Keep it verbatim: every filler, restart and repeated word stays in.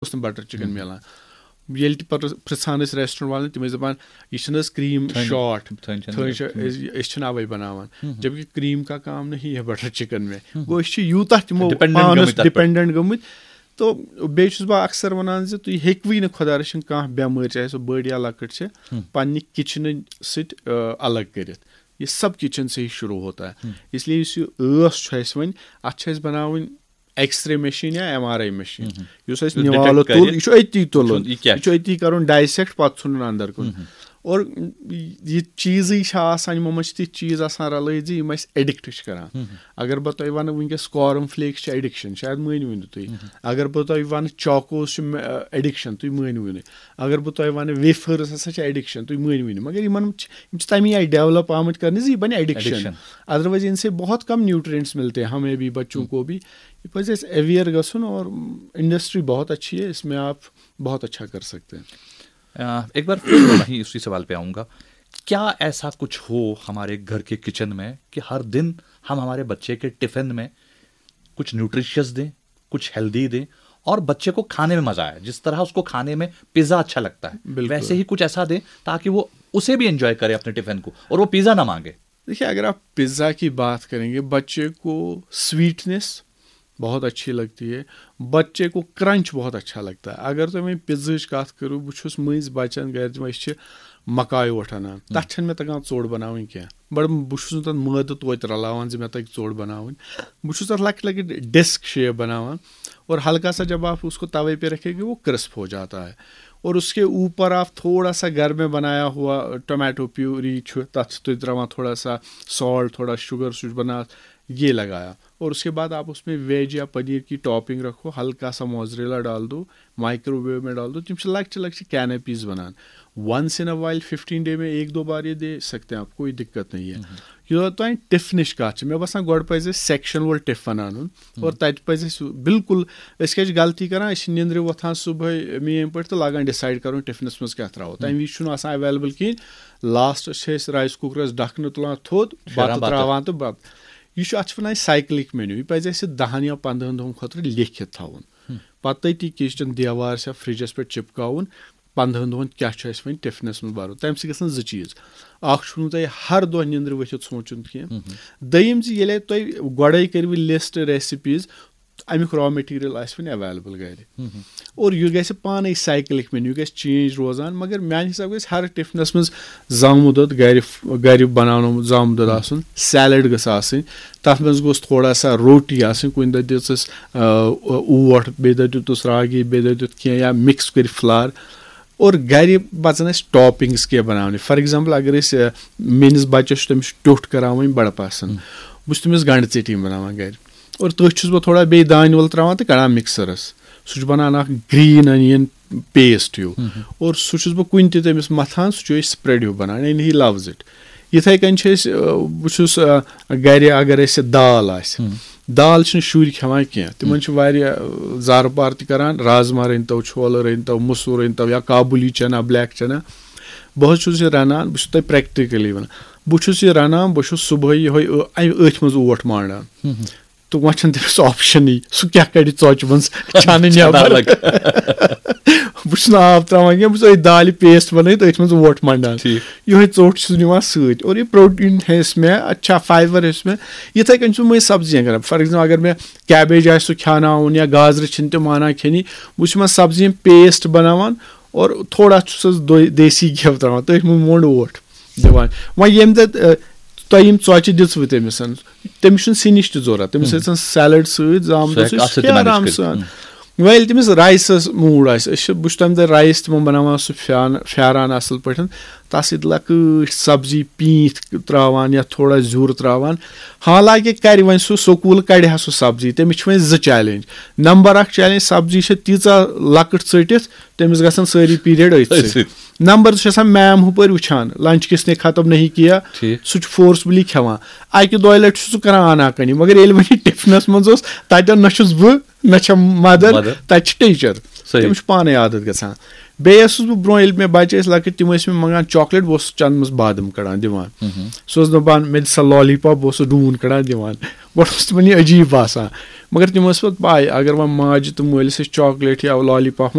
اوس نہٕ butter chicken میلان۔ ییٚلہِ تہِ پتہٕ پرژھان ٲسۍ ریسٹورنٹ والٮ۪ن، تِم ٲسۍ دپان، "یہِ چھِنہٕ حظ کریم شارٹ؟ تھٔنۍ چھِ، أسۍ چھِنہٕ اَوَے بناوان۔" جبکہ کریم کا کام نہیں ہے بٹر چکن میں۔ گوٚو، أسۍ چھِ یوٗتاہ تِمو ڈِپٮ۪نڈنٹ پانس گٔمٕتۍ تَتھ پٮ۪ٹھ۔ ڈِپٮ۪نڈنٹ گٔمٕتۍ۔ تو بیٚیہِ چھُس بہٕ اکثر وَنان زِ تُہۍ ہیٚکوٕے نہٕ، خۄدا رٔچھِن، کانٛہہ بٮ۪مٲرۍ، چاہے سۄ بٔڑ یا لۄکٕٹ چھِ، پننہِ کچنہٕ سۭتۍ، آ، الگ کٔرِتھ۔ یہ سب کچن سے ہی شروع ہوتا ہے۔ اس لیے یُس یہِ ٲس چھُ اَسہِ وۄنۍ، اَتھ چھِ اَسہِ بناوٕنۍ ایکس رے مشین یا ایم آر آئی مشین، یُس اَسہِ نِوالہٕ تُل، یہِ چھُ أتی تُلُن، یہِ چھُ أتی کرُن ڈائسیکٹ، پتہٕ ژھُنُن اندر کُن۔ اور یہِ چیٖزٕے چھِ آسان، یِمو منٛز چھِ تِتھۍ چیٖز آسان رلٲوِتھ زِ یِم اَسہِ ایڈکٹ چھِ کران۔ اگر بہٕ تۄہہِ وَنہٕ وٕنکیٚس کارن فلیکس چھِ ایڈکشن، شاید مٲنِو نہٕ تُہۍ۔ اگر بہٕ تۄہہِ وَنہٕ چاکوز چھِ ایڈکشن، تُہۍ مٲنِو نہٕ۔ اگر بہٕ تۄہہِ وَنہٕ ویفٲرٕس ہسا چھِ ایڈکشن، تُہۍ مٲنِو نہٕ۔ مگر یِمن چھِ، یِم چھِ تَمی آیہِ ڈیولپ آمٕتۍ کرنہٕ زِ یہِ بَنہِ ایڈکشن۔ ایڈکشن۔ ادروائز ان سے بہت کم نیوٹرینٹس ملتے ہیں ہمیں بھی، بچوں کو بھی۔ یہِ پَزِ اَسہِ اویئر گژھُن، اور انڈسٹری بہت اچھی ہے، اس میں آپ بہت اچھا کر سکتے ہیں۔ अ, एक बार फिर मैं वहीं उसी सवाल पे आऊँगा, क्या ऐसा कुछ हो हमारे घर के किचन में कि हर दिन हम हमारे बच्चे के टिफिन में कुछ न्यूट्रिशियस दें, कुछ हेल्दी दें और बच्चे को खाने में मज़ा आए? जिस तरह उसको खाने में पिज़्ज़ा अच्छा लगता है, बिल्कुल। वैसे ही कुछ ऐसा दें ताकि वो उसे भी एंजॉय करे अपने टिफिन को और वो पिज़्ज़ा ना मांगे। देखिए, अगर आप पिज़्ज़ा की बात करेंगे, बच्चे को स्वीटनेस बहुत अच्छी लगती है, बच्चे को क्रंच बहुत अच्छा लगता है। اگر تُہۍ وۄنۍ پِزہٕچ کَتھ کٔرِو، بہٕ چھُس مٔنٛزۍ بَچَن گَرِ دِوان، أسۍ چھِ مَکاے اوٹ اَنان، تَتھ چھَنہٕ مےٚ تَگان ژوٚٹ بَناوٕنۍ کینٛہہ، بَڑٕ بہٕ چھُس نہٕ تَتھ مٲدٕ توتہِ رَلاوان زِ مےٚ تَگہِ ژوٚٹ بَناوٕنۍ۔ بہٕ چھُس تَتھ لۄکٕٹۍ لۄکٕٹۍ ڈِسک شیپ بَناوان، اور ہلکا سا جب آپ اس کو توے پہ رکھیں گے، وہ کرسپ ہو جاتا ہے۔ اور اس کے اوپر آپ تھوڑا سا گھر میں بنایا ہوا ٹومیٹو پیوری چھُ، تَتھ چھِ تُہۍ ترٛاوان تھوڑا سا سالٹ، تھوڑا شوگر، سُہ چھُ بَنان، یہ لگایا۔ اور اس کے بعد آپ اس میں ویج یا پنیر کی ٹاپنگ رکھو، ہلکا سا موزریلا ڈال دو، مائیکرو ویو میں ڈال دو، تِم چھِ لۄکچہِ لۄکچہِ کینپیز بَنان۔ Once in a while, fifteen day میں ایک دو بار یہ دے سکتے ہیں آپ، کوئی دقت نہیں ہے۔ یوٚتام ٹِفنٕچ کَتھ چھِ، مےٚ باسان گۄڈٕ پَزِ اَسہِ سیکشن وول ٹِفن اَنُن، اور تَتہِ پَزِ اَسہِ بالکل، أسۍ کیٛاہ چھِ غلطی کران، أسۍ چھِ نِندرِ وۄتھان صبحٲے میم پٲٹھۍ تہٕ لاگان ڈِسایڈ کَرُن ٹِفنَس منٛز کیٛاہ ترٛاوو۔ تَمہِ وِزِ چھُنہٕ آسان ایویلیبل کِہیٖنۍ، لاسٹَس چھِ أسۍ رایس کُکرَس ڈَکھنہٕ تُلان تھوٚد، شیران بَتہٕ بَتہٕ۔ ترٛاوان تہٕ بَتہٕ۔ یہِ چھُ، اَتھ چھِ وَنان سایکلِک مینیو، یہِ پَزِ اَسہِ دَہَن یا پنٛدہَن دۄہَن خٲطرٕ لیکھِتھ تھاوُن۔ پَتہٕ تٔتی کِچن دیوار چھا فرجَس پٮ۪ٹھ چِپکاوُن، پنٛدہَن دۄہَن کیٛاہ چھُ اَسہِ وۄنۍ ٹِفنَس منٛز بَرُن۔ تَمہِ سۭتۍ گژھن زٕ چیٖز، اَکھ چھُنہٕ تۄہہِ ہر دۄہ نِندرِ ؤتھِتھ سونٛچُن کینٛہہ، دوٚیِم زِ ییٚلہِ تۄہہِ گۄڈَے کٔرِو لِسٹ ریسِپیٖز، اَمیُک را مٹیٖریل آسہِ وۄنۍ ایویلیبل گَرِ، اور یہِ گژھِ پانَے سایکلِک مینیو، یہِ گژھِ چینج روزان۔ مگر میٛانہِ حساب گژھِ ہر ٹِفنَس منٛز زامُت دۄد گَرِ، گَرِ بَناونومُت زامُت دۄد آسُن، سیلڈ گٔژھ آسٕنۍ، تَتھ منٛز گوٚژھ تھوڑا سا روٹی آسٕنۍ، کُنہِ دۄہ دِژٕس، آ، اوٹ، بیٚیہِ دۄہ دیُتُس راگی، بیٚیہِ دۄہ دیُت کینٛہہ یا مِکس کٔرِتھ فلار۔ اور گَرِ پَزَن اَسہِ ٹاپِنٛگٕس کینٛہہ بَناونہِ۔ فار ایگزامپل، اگر أسۍ، آ، میٛٲنِس بَچَس چھُ، تٔمِس چھُ ٹیوٚٹھ کَران وۄنۍ بَڑٕ پَسنٛد، بہٕ چھُس تٔمِس گَنٛڈٕ ژیٚٹِنۍ بَناوان گَرِ۔ اور تٔتھۍ چھُس بہٕ تھوڑا بیٚیہِ دانہِ وَل ترٛاوان تہٕ کَڑان مِکسَرَس۔ سُہ چھُ بَنان اَکھ گرٛیٖن أنیَن پیسٹ ہیوٗ۔ اور سُہ چھُس بہٕ کُنہِ تہِ تٔمِس مَتھان، سُہ چھُ أسۍ سپریڈ ہیوٗ بَنان، یعنی he loves it۔ یِتھَے کٔنۍ چھِ أسۍ، آ، بہٕ چھُس، آ، گَرِ اگر اَسہِ دال آسہِ، دال چھِنہٕ شُرۍ کھٮ۪وان کینٛہہ، تِمَن چھِ واریاہ، آ، زارٕ پار تہِ کَران، رازما رٔنۍ تو، چھولہٕ رٔنۍ تو، مُسوٗر رٔنۍ تو یا کابُلی چنا، بلیک چنا۔ بہٕ حظ چھُس یہِ رَنان، بہٕ چھُس تۄہہِ پرٛیکٹِکٔلی وَنان، بہٕ چھُس یہِ رَنان، بہٕ چھُس صُبحٲے یِہوٚے ٲ-، اَمہِ أتھۍ منٛز اوٹ مانٛڈان۔ تہٕ وۄنۍ چھَنہٕ تٔمِس آپشَنٕے، سُہ کیٛاہ کَڑِ ژۄچہِ منٛز چَنہٕ نٮ۪بَر۔ بہٕ چھُس نہٕ آب ترٛاوان کینٛہہ، بہٕ چھُس أتھۍ دالہِ پیسٹ بَنٲوِتھ، أتھۍ منٛز اوٹ مَنٛڈان۔ یِہوٚے ژوٚٹ چھُس نِوان سۭتۍ۔ اور یہِ پروٹیٖن ہے اَسہِ مےٚ، اَتہِ چھا فایبر ہے اَسہِ مےٚ۔ یِتھَے کٔنۍ چھُس بہٕ مٔنٛزۍ سبزی ہٮ۪کان، فار ایگزامپل، اگر مےٚ کیبیج آسہِ سُہ کھیٛاناوُن یا گازرِ چھِنہٕ تِم مانان کھیٚنی، بہٕ چھُس یِمَن سبزی ہُنٛد پیسٹ بَناوان اور تھوڑا چھُسَس دۄ-، دیسی گٮ۪و ترٛاوان، تٔتھۍ منٛز موٚنٛڈ اوٹ دِوان۔ وۄنۍ ییٚمہِ دۄہ، آ، تۄہہِ یِم ژۄچہِ دِژوٕ تٔمِس، تٔمِس چھُنہٕ سِنِچ تہِ ضوٚرَتھ، تٔمِس ٲسۍ سیلڈ سۭتۍ زامُت، سُہ ہیٚکہِ سُہ اَتھ سۭتۍ کھیٚیہِ مینیج آرام کٔرِتھ۔ سان۔ وۄنۍ ییٚلہِ تٔمِس رایسَس موٗڈ آسہِ، أسۍ چھِ، بہٕ چھُس تَمہِ دۄہ رایس تِمَن بَناوان سُہ پھیان-، پھیران اَصٕل پٲٹھۍ، تَتھ سۭتۍ لۄکٕٹۍ سبزی پیٖنٛتۍ ترٛاوان یا تھوڑا زیُر ترٛاوان۔ حالانکہِ کَرِ وۄنۍ سُہ سکوٗل، کَڑِ ہا سُہ سبزی، تٔمِس چھِ وۄنۍ زٕ چیلنج۔ نمبر اَکھ چیلنج، سبزی چھِ تیٖژاہ لۄکٕٹ ژٔٹِتھ، تٔمِس گژھن سٲری پیٖریڈ أتھۍ سۭتۍ۔ نمبر زٕ چھُ آسان میم ہُپٲرۍ وٕچھان، لنچ کِس نے ختم نہیں کیا، ٹھیٖک۔ سُہ چھُ فورسفُلی کھٮ۪وان۔ اَکہِ دۄیہِ لَٹہِ چھُ سُہ کَران آناکٲنی، مگر ییٚلہِ وۄنۍ یہِ ٹِفنَس منٛز اوس، تَتٮ۪ن نہ چھُس بہٕ، نہ چھےٚ مَدَر، مَدَر۔ تَتہِ چھِ ٹیٖچَر۔ صحیح۔ تٔمِس چھُ پانَے عادت گژھان۔ بیٚیہِ ٲسٕس بہٕ برونٛہہ، ییٚلہِ مےٚ بَچہِ ٲسۍ لۄکٕٹۍ، تِم ٲسۍ مےٚ منٛگان چاکلیٹ، بہٕ اوسُس چَنٛدَس منٛز بادَم کَڑان دِوان۔ سُہ اوس دَپان، "مےٚ دِ سا لالی پاپ"، بہٕ اوسُس ڈوٗن کَڑان دِوان۔ گۄڈٕ اوس تِمَن یہِ عجیٖب باسان، مگر تِم ٲسۍ پَتہٕ پَے، اگر وۄنۍ ماجہِ تہٕ مٲلِس أسۍ چاکلیٹ یا لالی پاپ